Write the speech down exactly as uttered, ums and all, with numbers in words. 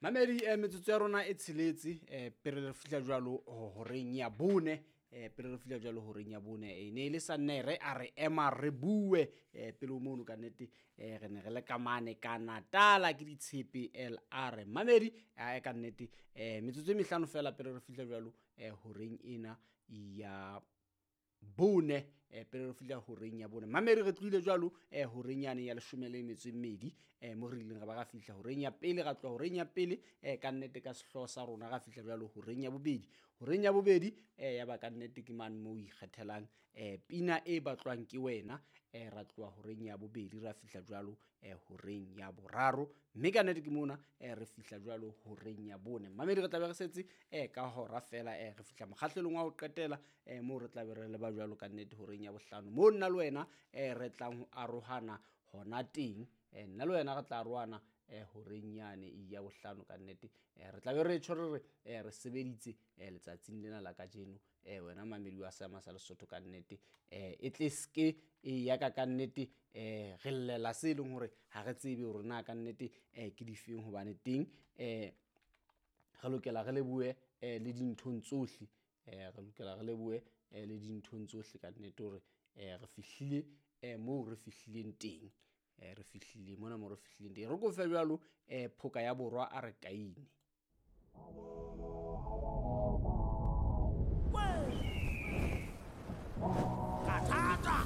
Mamedi, eh, metsotso ya rona e tsheletse eh, pele re fihla jwalo ho- horeng ya bone, eh, pele re fihla jwalo horeng ya bone, e ne e le Sannere a re ema re bue. eh, pele ho mono ka nnete, eh, re ne re le ka mane ka Natala ke ditshepe L R. Mamedi, eh, ka nnete, eh, metsotso e mehlano fela pele re fihla jwalo, eh, horeng ena ya bone, eh, pele re fihla horeng ya bone. Mamedi, re tlohile jwalo, eh, horeng yane ya leshome le metso e mmedi, eh, mo re ileng ra ba ra fihla horeng ya pele, ra tloha horeng ya pele, eh, ka nnete ka sehlooho sa rona ra fihla jwalo horeng ya bobedi. Horeng ya bobedi, eh, ya ba ka nnete ke mane moo o ikgethelang, eh, pina e batlwang ke wena, eh, ra tloha horeng ya bobedi ra fihla jwalo, eh, horeng ya boraro, mme ka nnete ke mona, eh, re fihla jwalo horeng ya bone. Mamedi, re tla be re setse, eh, ka hora fela, eh, re fihla mokgahlelong wa ho qetela, eh, moo re tla be re leba jwalo ka nnete horeng ya bohlano, moo nna le wena, eh, re tlang ho arohana hona teng. Eh, nna le wena re tla arohana, eh, horeng yane ya bohlano ka nnete. Eh, re tla be re tjho re re, eh, re sebeditse, eh, letsatsing lena la kajeno. Eh, wena mamedi wa Seema sa Lesotho ka nnete, eh, e tle ske e ya ka ka nnete, eh, re llela se leng hore ha re tsebe hore na ka nnete, eh, ke difeng, hobane teng, eh, re lokela re lebohe, eh, le dinthong tsohle. Eh, re lokela re lebohe, eh, le dinthong tsohle ka nnete hore, eh, re fihlile, eh, moo re fihlileng teng. Eh, re fihlile mona moo re fihlileng teng. Re kofe jwalo, eh, phoka ya borwa a re kaine. Ka thata.